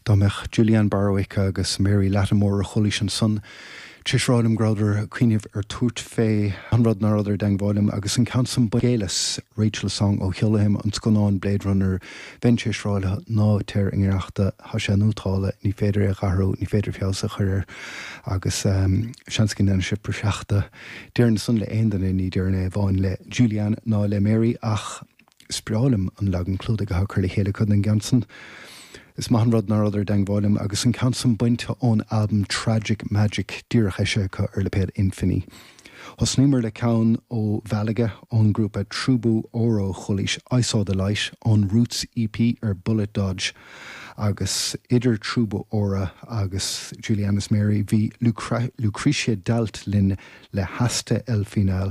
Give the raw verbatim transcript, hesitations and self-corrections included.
Dá mbeadh Julianne Barwick agus Mary Lattimore a chualaís ansan tar éis rá liom go rabhadar ag cuimhneamh ar tabhairt fé an rud ná rabhadar i dteangmháil liom agus an ceann san Géileas Rachel Song ó sheolaim an scannán Blade Runner bheinn tar éis rá leo ná téir i ngiorracht tá sé nótálta ní féidir é a athrú ní féidir feabhas a chur air agus um, seans go ndéanann sibh praiseach de. Déarfainn san le aon duine ní déarfainn é amháin le Julianne ná le Mary ach is breá liom an leagan clúdaigh atá curtha le chéile acu den gceann san. Is maith an rud ná rabhadar i dteangmháil liom agus an ceann san bainte ón album Tragic Magic díreach eisithe acu ar lipéad Infini. Thosnaíomar le ceann ó Mhálaga ón grúpa Trubu Oro chualaís I Saw the Light ón Roots EP ar Bullet Dodge agus idir Trubu Ora agus Julianne is Mary bhí Lucrecia Dalt linn le Hasta El Final